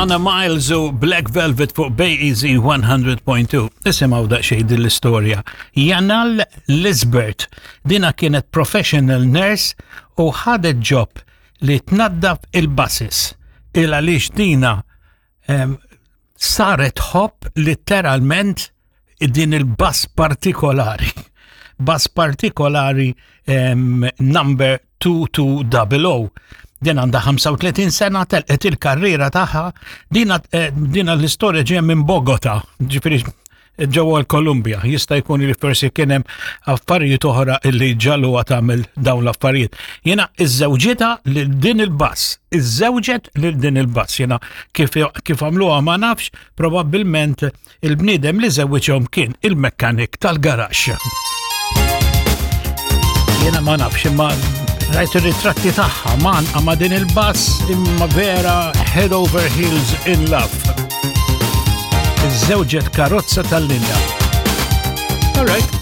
Alana Miles u Black Velvet fuq Bay Easy 100.2. Isimgħu daqsxejn din l-istorja. Janal Lisbert, dina kienet professional nurse u ħadet job li tnaddaf il-buses. Il għaliex dina saret tħobb litteralment din il-bus partikolari. Bus partikolari number 2200. Din għandha 35 sena telqet il-karriera tagħha dina eh, dina l-istorja ġejja minn Bogota, ġifieri ġewwa l-Kolumbja. Jista' jkun li forsi kien hemm affarijiet oħra li ġaluha tagħmel dawn l-affarijiet. Jiena iżżewġitha lil din il-bass, iżżewġet lil din il-bass. Jiena kif kif għamluha ma nafx, probabbilment il-bniedem li żewwiġhom kien il-mekkanik tal-garaxx. Jiena ma nafx imma rajt ir-ritratti tagħha man ma din il-bass imma vera head over heels in love. Iżżewġet karozza tal-linja. All right.